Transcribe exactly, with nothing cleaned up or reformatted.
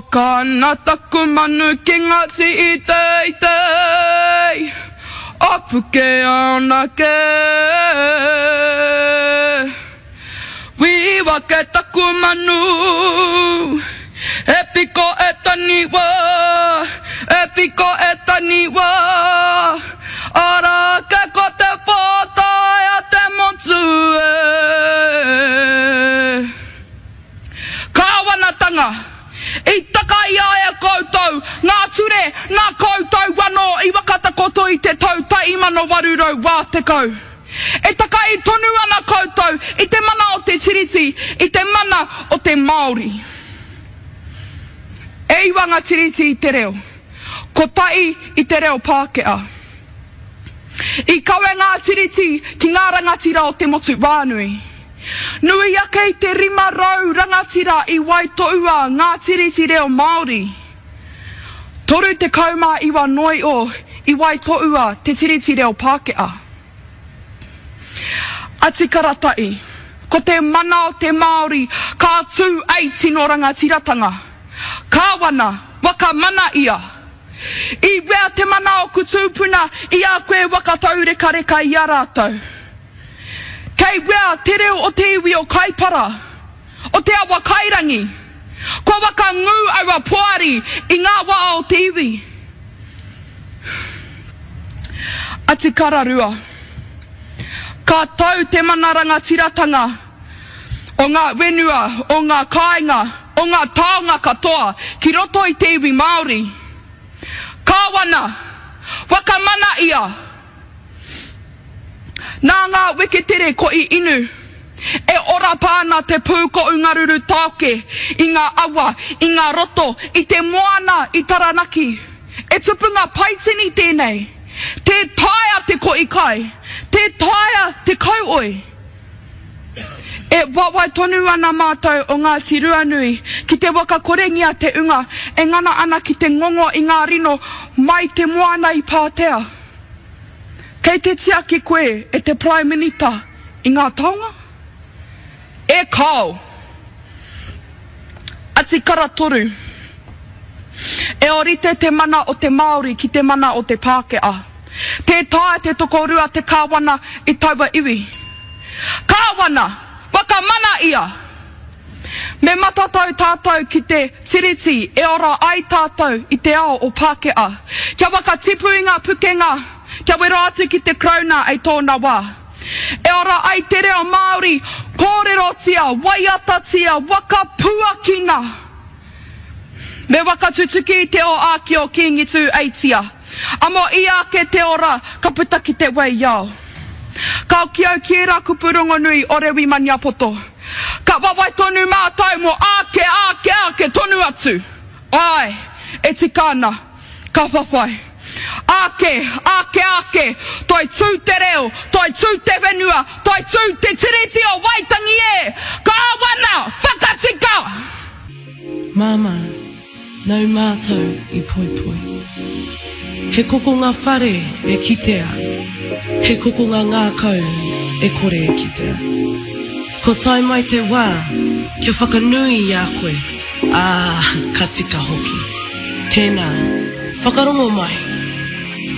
Waka ana taku manu ki ngā tii teitei o Pukeanake. Whiua ke taku manu, e piko e taniwa, e piko e taniwa, ara ke ko te pōtae a te motu e. Kāwanatanga, i taka i a e koutou ngā ture nā koutou anō i whakatakoto i te tau tahi mano waru rau wā tekau. E takai tonu ana koutou i te mana o te Tiriti, i te mana o te Māori. E iwa ngā tiriti i te reo, kotahi i te reo Pākehā. I kawe ngā tiriti ki ngā rangatira o te motu whānui. Nui ake i te rima rau rangatira i waitohua ngā tiriti reo Māori. Toru tekau mā iwa noa iho i waitohua te tiriti reo Pākehā. Atikara tahi, ko te mana o te Māori ka tū ei tino rangatiratanga. Kāwana, whakamana ia. I wea te mana o ku tūpuna i a koe waka taurekareka i a rātou. Kei wea te reo o te iwi o Kaipara, o te awa Kairangi. Kua waka ngū aua poari i ngā wā o te iwi. Atikara rua. Ka tau te mana rangatiratanga o ngā whenua, o ngā kāinga, o ngā taonga katoa ki roto i te iwi Māori. Kāwana, whakamana ia. Nā ngā weketere ko i inu, e ora pā ana te pūkohu ngaruru tāoke i ngā awa, i ngā roto, i te moana i Taranaki. E tupu ngā paitini tēnei. Tē taea te kohi kai, tē taea te kauoi. E wawae tonu ana mātou o Ngāti Ruanui ki te whakakorengia te unga e ngana ana ki te ngongo i ngā rino mai te moana i Pātea. Kei te tiaki koe e te Prime Minita i ngā taonga? E kāo! Atikara toru. E ōrite te mana o te Māori ki te mana o te Pākehā. Tē taea te tokorua te kāwana i taua iwi. Kāwana! Whakamana ia! Me matatau tātou ki te tiriti e ora ai tātou i te ao o Pākehā. Kia whakatipu i ngā pukenga, kia wero atu ki te Karauna ei tōna wā. E ora ai te reo Māori, kōrerotia, waiatatia, whakapuakina! Me whakatutuki i te o āki o Kīngi Tū-eitia. Amo ia ake te ora, ka puta ki te wei ao. Ka hoki au ki ērā kupu rongonui o Rewi Maniapoto. Ka wawae tonu mātou mō āke, āke, āke tonu atu. Āe, e tika ana, ka whawhai. Āke, āke, āke, toi tū te reo, toi tū te whenua, toi tū te Tiriti o Waitangi e! Kāwana, whakatika! Māmā, nau mātou i poipoi. He kokonga whare e kitea, he kokonga ngākau e kore e kitea. Ko tae mai te wā, kia whakanui i a koe, ā, ka tika hoki. Tēnā, whakarongo mai.